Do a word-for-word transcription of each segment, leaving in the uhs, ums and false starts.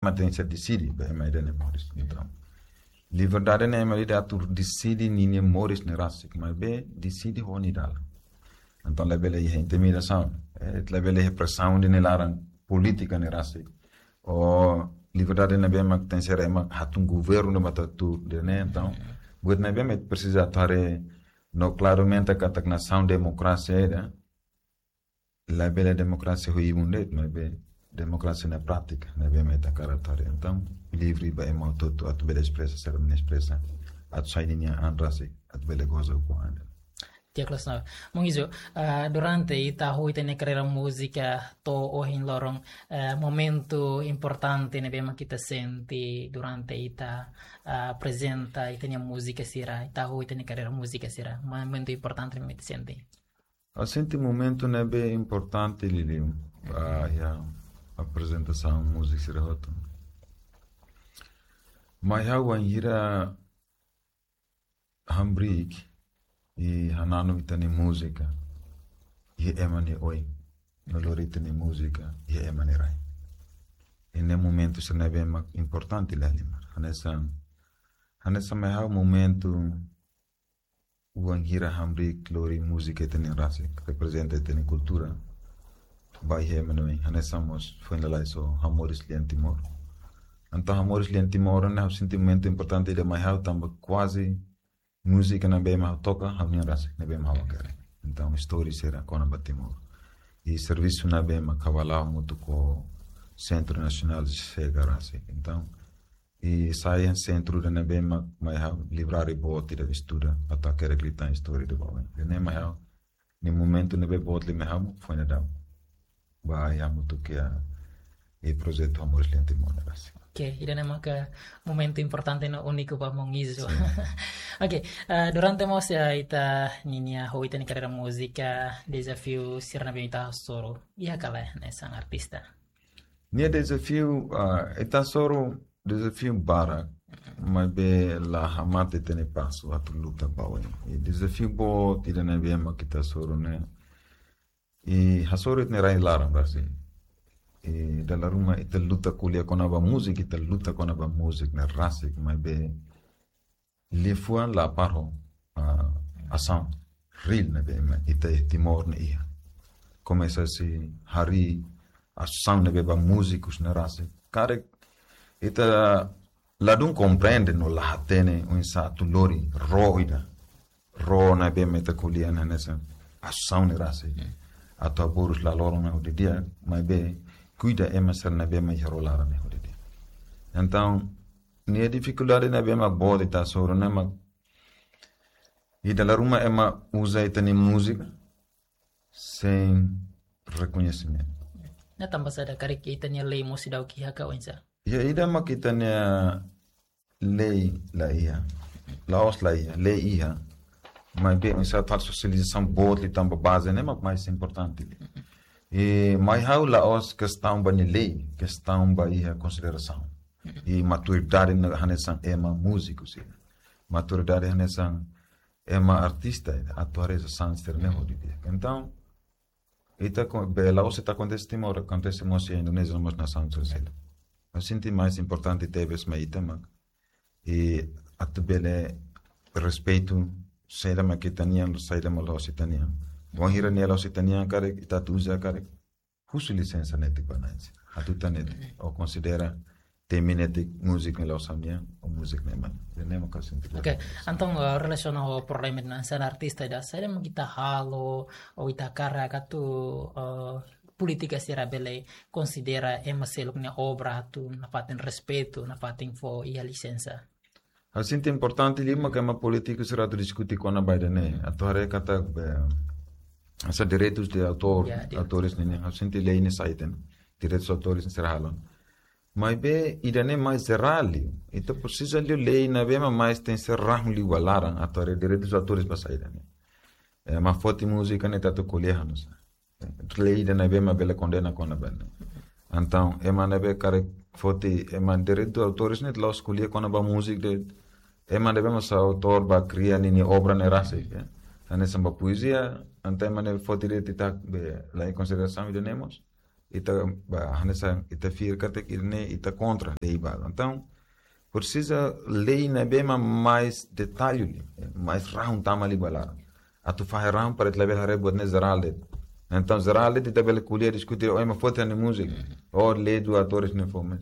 ema tenke ser deside ba ema ida-ne'e moris. Entaun, liberdade ne'e ema ida atu deside ninia moris ne'e rasik, maibé deside ho nia dalan. Entaun, labele iha intimidasaun, eh, labele iha presaun ida-ne'e laran polítika ne'e rasik. Ou liberdade ne'ebé mak tenke ser ema hatun governu ne'ebé atu tuur ida-ne'e, entaun, buat ne'ebé mak presiza atu haree no klaramente katak nasaun demokrasia ida, labele demokrasia ho ibun de'it, maibé demokrasia na prátika, ne'ebé mak ita hakarak atu haree. Entaun, livre ba ema hotu-hotu atu bele espresa, sira bele espresa, atu sai ninia an rasik, atu bele goza ho an ida. Di'ak loos, Monge Izo, ah, durante ita hahú ita-nia karreira múzika to'o ohin loron, eh, momentu importante ne'ebé mak ita sente durante ita, ah, aprezenta ita-nia múzika sira, ita hahú ita-nia karreira múzika sira, momentu importante ne'ebé mak ita sente? Ha'u sente momentu ne'ebé importante liuliu, ah, iha aprezentasaun múzika sira hotu. Mai ha'u wainhira hamriik i hananu ita-nia múzika iha ema nia oin, no lori ita-nia múzika iha ema nia rai. I ne'e momentu sira ne'ebé mak importante liu liu. Hanesan, hanesan mai ha'u momentu wainhira hamriik lori múzika ita-nia rasik, reprezenta ita-nia kultura ba iha ema nia oin, hanesan mós foin lalais ha'u moris lian Timor. Entaun, ha'u moris lian Timor ne'e ha'u sente momentu importante ida mai ha'u tanba kuaze múzika ne'ebé mak ha'u toka, ha'u-nian rasik, ne'ebé mak ha'u hakerek. Entaun, istória sira kona-ba Timor. I servisu ne'ebé mak ha'u hala'o hamutuk ho Sentru Nasionál Chega rasik. Entaun, i sai iha sentru ida ne'ebé mak mai ha'u librari boot ida estuda, atu hakerek liután istória ida ba oin. Ida-ne'e mai ha'u, nia momentu ne'ebé boot liu mai ha'u, foin daudaun ba iha hamutuk iha projetu Amor Liante Moneras. Oke, ida-ne'e maka momentu importante no úniku ba Monge Izo. Sin. Oke, eh, durante mós, eh, ita ninia hahú ita-nia karreira múzika, dezafiu sira ne'ebé ita hasoru, iha ka lae hanesan artista? Nia dezafiu, ah, ita hasoru dezafiu barak, maibé la hamate ita-nia pasu atu luta ba oin. I dezafiu boot ida ne'ebé mak ita hasoru ne'e, i hasoru ita-nia rai-laran rasik. I dala ruma ita luta ko'alia kona-ba múzika, ita luta kona-ba múzika ne'e rasik, maibé liafuan la para ho, ah, asaun reál ne'ebé mak ita iha Timor ne'e iha. Komesa husi harii asaun ne'ebé ba múzikus ne'e rasik. Karik ita ladún komprende no la hatene oinsá atu lori ró ida. Ró ne'ebé mak ita ko'alia hanesan asaun ne'e rasik. Atu haburas la loron ne'e ho di'ak, maibé kuida ema sira ne'ebé mak iha ró laran ne'e ho di'ak. Entaun, nia difikuldade ne'ebé mak boot ita hasoru ne'e mak, i dala ruma ema uza ita-nia múzika sein rekoñesimentu. Ne'e tanba saida, karik ita-nia lei mós seidauk iha ka oinsá? Ya, ida mak ita-nia lei la iha. La'ós la iha, lei iha. Maibé oinsá atu sosializasaun boot liután ba baze ne'e mak mais importante. I mai ha'u la'ós kestaun ba nia lei, kestaun ba iha konsiderasaun. I maturidade ne'e hanesan ema múziku sira. Maturidade hanesan ema artista, atu haree asaun sira ne'e ho di'ak. Entaun, ita ko-, be la'ós ita akontese Timor, akontese mós iha Indonézia, mós nasaun sira seluk. Ha'u sente mais importante tebes mai ita mak, i atu bele respeitu saida mak ita-nian, saida mak la'ós ita-nian. Wainhira nia la'ós ita-nian, karik ita atu uza, karik husu lisensa netik ba na'in sira. Hatutan netik, ou konsidera temi netik múzika ne'e la'ós ha'u-nian, ou múzika ne'e mak. Ida-ne'e mak ha'u sente. Oke, entaun, eh, relasiona ho problema ida-ne'e hanesan artista ida, saida mak ita halo, ou ita hakarak atu, eh, polítika sira bele konsidera ema seluk nia obra atu nafatin respeitu, nafatin fó iha lisensa? Ha'u sente importante liu mak ema polítiku sira atu diskute kona-ba ida-ne'e. Atu haree katak, eh, hanesan direitus de autór, ya, direitus. Autores ne'e, ha'u sente lei ne'e sai ita-nia direitus autores sira halo. Maibé ida-ne'e mais jerál liu. Ita presiza liu lei ne'ebé mak mais tenke ser rahun liu ba laran atu haree direitus autores ba saida ne'e. Eh, ema foti múzika ne'e ita atu ko'alia hanesan lei ida ne'ebé mak bele kondena kona-ba ne'e. Entaun, ema ne'ebé karik foti, ema direitu autores ne'e la'ós ko'alia kona-ba múzika de'it. Ema ne'ebé mak sai autór ba kria ninia obra ne'e rasik, ya. Hanesan ba poezia, entaun ema ne'e foti de'it ita be la iha konsiderasaun ida-ne'e mós. ita ba hanesan ita fiar katak ida-ne'e ita kontra lei balu. Entaun presiza lei ne'ebé mak mais detallu liu, mais rahun tama liu ba laran. Atu fahe rahun para ita labele haree buat ne'e jerál de'it. Entaun jerál de'it ita bele ko'alia diskute, o ema foti ha'u-nia múzika. O lei do autores ne'e fó mais.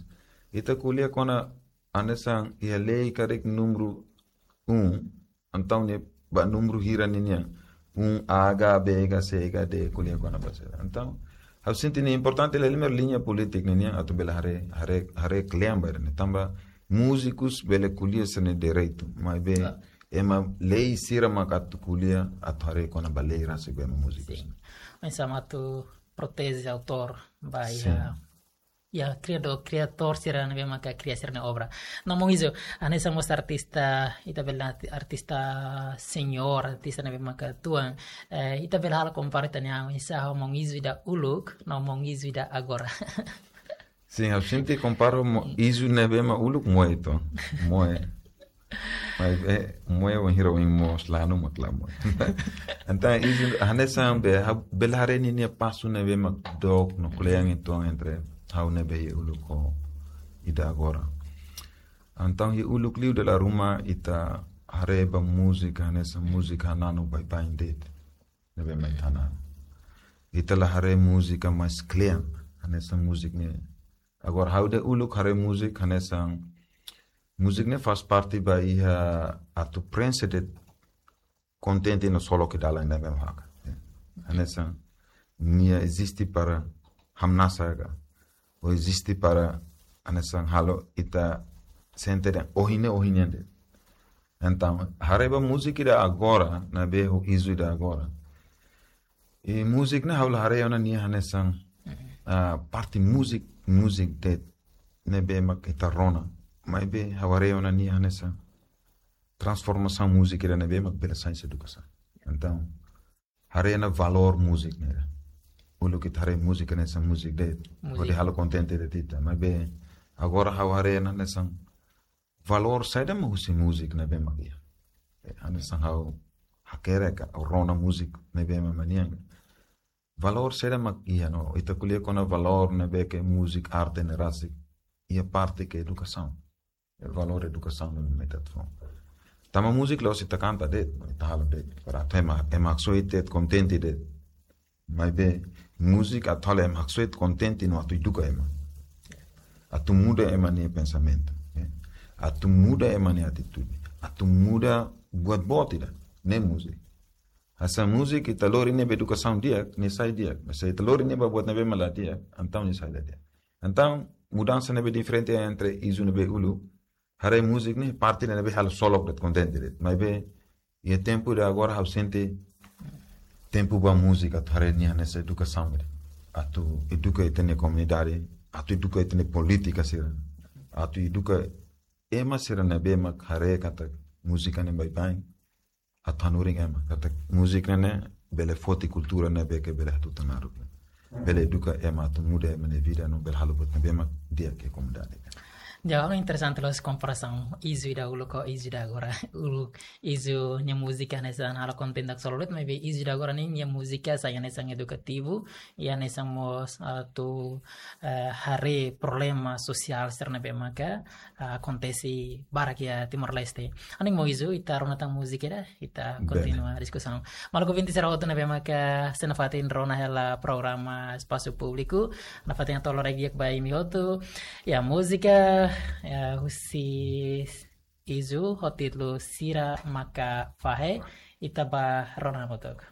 Ita ko'alia kona hanesan iha lei karik númeru um, entaun ne'e ba númeru hira ninian. Um A H B H C H D ko'alia kona-ba sira. Entaun ha'u sente ne'e importante liu, liña polítika ninian atu bele haree, haree, haree kle'an ba ida-ne'e. Tanba múzikus bele ko'alia sira-nia direitu, maibé ema lei sira mak atu ko'alia atu haree kona-ba lei rasik ba ema múzikus. Oinsá mak atu proteje autór ba iha, iha kriadór, kriadór sira ne'ebé maka kria sira-nia obra. No maun Izu, hanesan mós artista, ita bele arti-, artista senior, artista ne'ebé maka tuan, eh, ita bele halo kompara ita-nia oinsá ho maun Izu ida uluk no maun Izu ida agora. Sin, ha'u sente kompara ho maun Izu ne'ebé mak uluk moe to. Moe. Maibé moe wainhira oin moos lanu mak la moe. Entaun Izu hanesan be, ha'u bele haree ninia pasu ne'ebé mak dook no kle'an uitoan entre ha'u ne'ebé iha uluk ho ida agora. Entaun iha uluk liu dala ruma ita haree ba múzika hanesan múzika hananu baibain de'it. Ne'ebé mak ita hananu. Ita la haree múzika mais kle'an, hanesan múzika ne'e. Agora ha'u ida uluk haree múzika hanesan múzika ne'e faz parte ba iha atu prenxe de'it kontente no solo ke dalan ne'ebé mak haka. Hanesan nia eziste para hamnasa ka, ou eziste para hanesan halo ita sente dehan ohin ne'e ohin nian de'it. Entaun haree ba múzika ida agora, ne'ebé ho Izu ida agora. I múzika ne'e ha'u la haree ona nia hanesan, ah, parte múzika, múzika de'it ne'ebé mak ita rona. Maibé ha'u haree ona nia hanesan transformasaun múzika ida ne'ebé mak bele sai hanesan edukasaun. Entaun haree ona valór múzika ne'e. Uluk ita haree múzika hanesan múzika de'it, hodi halo kontente de'it ita. Maibé agora ha'u haree ona hanesan valór saida mak husi múzika ne'ebé mak iha. Eh, hanesan ha'u hakerek ka rona múzika ne'ebé mak ema nian. Valór saida mak iha no ita ko'alia kona valór ne'ebé ke múzika arte ne'e rasik iha parte ke edukasaun. Valór edukasaun ne'e mak ita atu fó. Tanba múzika la'ós ita kanta de'it, ita halo de'it. Para atu ema, ema haksoit de'it, kontente de'it. Maibé múzika atu halo ema haksoit, kontente no atu eduka ema. Atu muda ema nia pensamentu, eh. Atu muda ema nia atitude. Atu muda buat boot ida, ne'e múzika. Hanesan múzika ita lori ne'e ba edukasaun di'ak, nia sai di'ak. Mas se ita lori ne'e ba buat ne'ebé mak la di'ak, entaun nia sai la di'ak. Entaun mudansa ne'ebé diferente entre Izu ne'ebé uluk, haree múzika ne'e parte ne'ebé halo solok de'it, kontente de'it. Maibé iha tempu ida agora ha'u sente tempu ba múzika atu haree nia hanesan edukasaun de'it. Atu eduka ita-nia komunidade, atu eduka ita-nia polítika sira, atu eduka ema sira ne'ebé mak haree katak múzika ne'e baibain, atu hanorin ema katak múzika ne'e bele foti kultura ne'ebé ke bele hatutan naruk. Bele eduka ema atu muda ema nia vida no bele halo buat ne'ebé mak di'ak iha komunidade. Jadi interesante loos komparasaun Izu ida uluk ho Izu ida agora. Uluk Izu nia múzika hanesan halo kontente solo de'it, maibé Izu ida agora ne'e nia múzika sai hanesan edukativu, i hanesan mós atu, eh, haree problema sosiál sira ne'ebé maka, eh, akontese barak iha Timor-Leste. Ha'u hanoin maun Izu, ita rona tan múzika ida, ita kontinua diskusaun. Maluk ouvinte sira hotu ne'ebé maka sei nafatin rona hela programa Espasu Públiku, nafatin hato'o loron di'ak ba imi hotu. Ya, múzika, ya, husi Izu ho títulu Sira Maka Fahe, ita bá rona hamutuk.